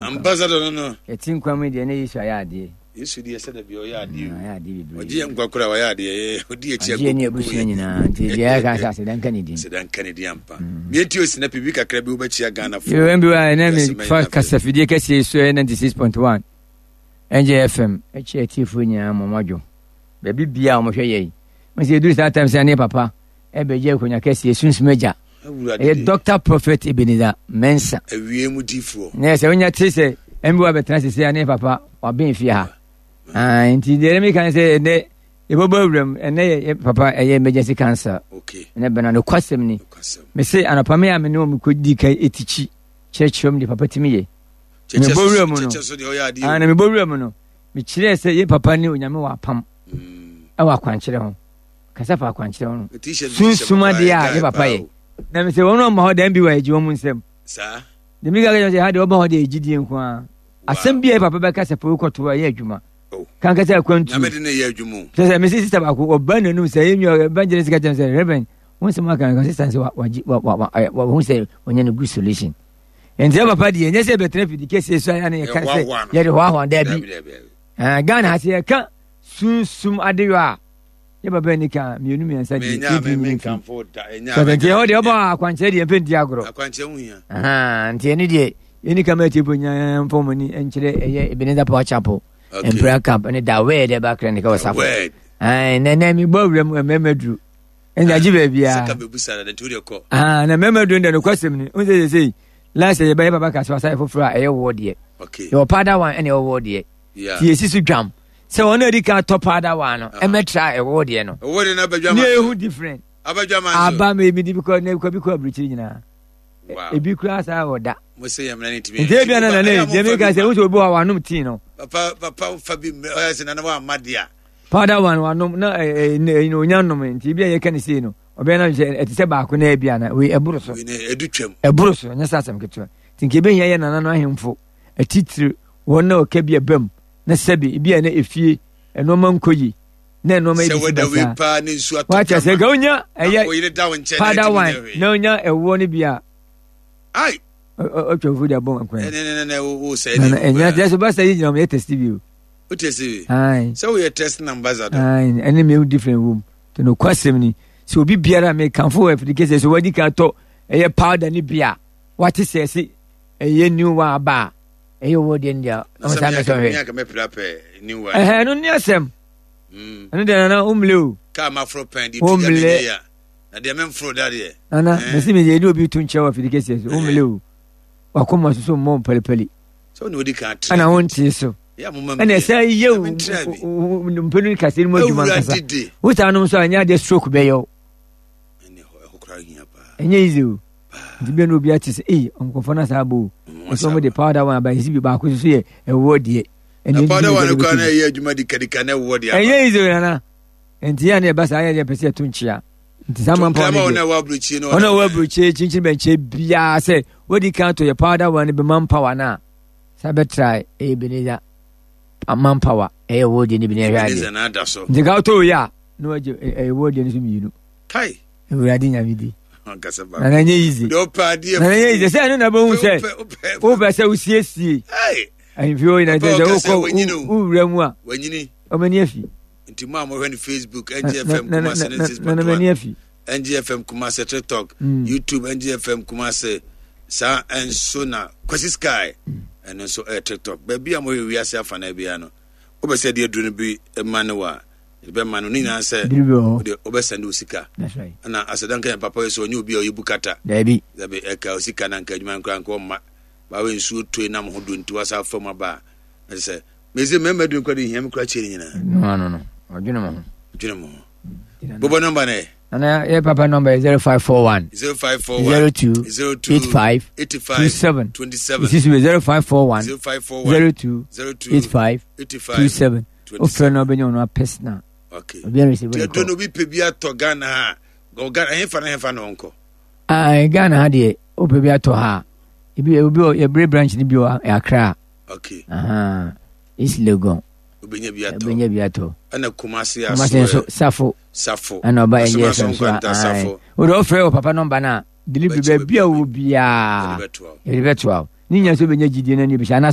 Ambassador no no. Yɛte nkwa mu deɛ na Yesu ayɛ adeɛ. Yesu deɛ sɛ dabi ɔyɛ adeɛ. Ɔyɛ adeɛ bebree. Ɔgye yɛn nkwa koraa ɔyɛ adeɛ. Ɔdi akyi akɔ. Ɔgye yɛn ne abusua nyinaa nti deɛ yɛka sɛ aseda nka ne din. Aseda nka ne din ampa. Mie ti osi na pibi kakra bi wobɛkyia Ghana fo. Yɛwɛn bi wa ɛnɛ mi fa kasafidie kɛseɛ so ɛyɛ 96.1 NJFM ɛkyɛ atiefoɔ nyinaa mɔ mɔdwo. Baabi bia a wɔhwɛ yɛn. Mo sɛ yɛduru saa tam sɛ ne papa ɛbɛgye akonnwa kɛseɛ sunsum agya. Ɛyɛ Dr. Prophet Ebenezer Mensah. Awie mu difoɔ. Ne sɛ wonya te sɛ ɛmbi wa bɛtena sese a ne papa waben fie ha. Ah, nti deɛ ɛmi kan sɛ ɛnɛ yɛbɛbɔ awuram ɛnɛ yɛ papa ɛyɛ emergency cancer. Okay. Ɛnɛ bɛn no kwasɛm ni. Mese anɔpa me a me ne wɔn kɔ di ka etikyi kyerɛkyerɛ mu deɛ papa tumi yɛ. Mebɔ wura mu no. Ah, na mebɔ wura mu no. Mekyerɛɛ sɛ yɛ papa ne Onyame wɔ apam. Ɛwɔ akwankyerɛ ho. Kasa fa akwankyerɛ ho no. Sunsum adeɛ a yɛ papa yɛ. Na mesɛ wɔn a wɔma hɔ dan bi wɔ agye wɔn nsam. Saa. Deɛ meka kyerɛ sɛ ha deɛ wɔba hɔ deɛ ɛgyidie nko ara. Asɛm bi a yɛ papa bɛka sɛ fa wokɔto a ɛyɛ adwuma. Oh. Kankasa akwantu. Nyame de ne yɛ adwuma o. Kyerɛ sɛ mese sista baako ɔba n'anum sɛ yɛ nua evangelist ka kyerɛ sɛ reverend wo nsɛm aka no sista sɛ wagye wa wa wa wahu sɛ ɔnya no good solution. Nti yɛ papa deɛ ɛnyɛ sɛ yɛbɛtena fidi kɛseɛ so a ne yɛka sɛ yɛde hoahoa daabi. Ghana ha sɛ yɛka sunsum adeyɔ a yɛ papa ni ka mmienu mmiɛnsa deɛ yɛntumi nyini mfi sɛ nti ɛhɔ deɛ ɔba akwankyerɛ deɛ mfɛ nti agorɔ nti ɛno deɛ yɛni ka ma atiefo nyinaa mfa wɔn ani nkyerɛ ɛyɛ Ebenezer Power Chapel Imperial Camp ne da wɛɛ dɛ ba clinic wɔ safo nɛnɛ mebɔ awura mu mmarima duru ɛnna agye baabiara na mmarima duru deɛ nokwasɛm ni wo sɛ sɛ last year yɛbɛyɛ baba kasa wasa yɛ foforɔ a ɛyɛ wɔ deɛ yɛwɔ powder one ɛna ɛwɔ wɔ deɛ ti yɛsi so dwam sɛ wɔn a edi kan tɔ powder one no ɛmɛtra ɛwɔ deɛ no ne ehu different aba mi mi di bi kɔ ne kɔ bi kɔ aburukyiri nyinaa ebi kura saa wɔ da nti ebi ana nana yi deɛ mi ka sɛ wosɛ obi wɔ wanom tii no. Papa papa fa bi ɔyɛ sɛ nana wa ama deɛ. Powder one wanom na ɛɛ ɛɛ onya nom nti ebi a yɛ ka ne sei no ɔbɛn na sɛ ɛte sɛ baako na ebi ana wei ɛboro so. Ɛboro so ɛnyɛ sɛ asɛm ketewa nti nka ebe hia yɛ nana no ahemfo atitire wɔn na ɔka bi ɛbam na sɛbi ebi a na efie nneɛma nkɔ yi na nneɛma yi bi si basaa wakyɛ sɛ nka onya ɛyɛ powder wine na onya ɛwoɔ no bi a ɔtwa fufu de abɔ nkwan na ɛnya kyerɛ sɛ basa yi gyina wɔn yɛ test bi o. O test bi sɛ woyɛ test na ambassador. Ɛne mi different wom te no kwasɛm ni sɛ obi biara mi kanfo wɔ afidi kɛse sɛ wadi kan tɔ ɛyɛ powder ni bi a wate sɛ ɛsi ɛyɛ new one aba a ɛyɛ owó deɛ no deɛ ɔmo saa mɛsɔ hwɛ ɛhɛn ɛno ne asɛm mm. Ɛno deɛ nana womle o. Kaa ma foro pɛn de tu gya ya na deɛ memforo da deɛ. Nana mesi mi deɛ ɛne obi to nkyɛn wɔ afidi kɛseɛ so womle o, wakoma soso mmɔ mpalipali sɛ wone wodi kan tra ɛna wontie so ɛna ɛsɛ yɛ mpɛnu kɛseɛ no mu adwuma nkasa wotaa nom so a ɛnyɛ adeɛ stroke bɛyɛ wo. Ɛnyɛ easy o. Nti bia na obi ate sɛ ei nkurɔfoɔ no asaa bɔ o. Nso wɔn de powder one aba esi bi baako nso yɛ ɛwoɔ deɛ. Na powder one kora na ɛyɛ adwuma dikadika na ɛwoɔ deɛ. Ɛnyɛ easy o nana. Nti yɛ na ɛba saa yɛ deɛ pɛ sɛ ɛto nkyea. Nti saa man power no deɛ. Ɔna ɛwɔ aburukyie kyinkyin bɛnkyɛ biara sɛ wodi kan to yɛ powder one bi man power no a saa bɛtra ɛyɛ Ebenezer man power ɛyɛ ɛwoɔ deɛ no bi na ɛhwɛ adeɛ. Nti ka wotɔ wei a na wagye ɛwoɔ deɛ no so mmienu. Kai. Awurade nyame di. Na na nyɛ easy. Na na nyɛ easy. Sɛ ɛno na bɛhu sɛ wopɛ sɛ wosiesie ahemfie hɔ nyinaa sɛ wokɔ wowura mu a ɔmani afi. Nti mo a mohwɛ no Facebook NGFM Kumase ne 6.1 NGFM Kumase TikTok mm. YouTube NGFM Kumase saa nso na Kwasi Sky ɛno nso ɛyɛ TikTok baabi a mohwɛ wiase afa na biara no wopɛ sɛ ɛde aduru no bi ma ne wa bɛma no ne nyinaa sɛ wode wobɛsɛnde wo sika ɛna asɛda nka yɛn papa yɛ sɛ ɔnyɛ obi a ɔyɛ bukata daabi dabi ɛka wo sika na nka adwuma nkora nka ɔmma bawe nsuo toe nam ho do nti wasa afa mu aba a ɛsɛ sɛ mese mmarima duru nkora de hia me kora kyerɛ ne nyinaa no no ɔdwene mo ho dwene mo ho bobɔ nɔmba no ɛ. Nana yɛ papa nɔmba yɛ 0541 0541 02 02 85 85 27 27 ɛsi so yɛ 0541 0541 02 02 85 85 27 wofrɛ no wobɛnya ɔno apɛsena. Okay. Obiara resi Nti bɛne ɛdɔ kɔ. no obi pɛ bi atɔ Ghana ha a, Ghana ɛhefa na ɛhefa na ɔnkɔ? Ah, Ghana ha deɛ wopɛ bi atɔ ha a, ebi obi wɔ yɛbere branch no bi wɔ Accra. Okay. Aha. East Legon. Obɛnya bi atɔ. Obɛnya bi atɔ. Ɛna Kumasi aso. Kumasi nso Safo. Safo. Ɛna ɔba ɛnyɛ fɛm so a. Wode ɔfrɛ wɔ papa nɔmba no a delivery baabi a wɔ biara. Yɛde bɛtoa wo. Ne nyinaa sɛ wobɛnya gyidie no ani bɛhyɛ anaasɛ.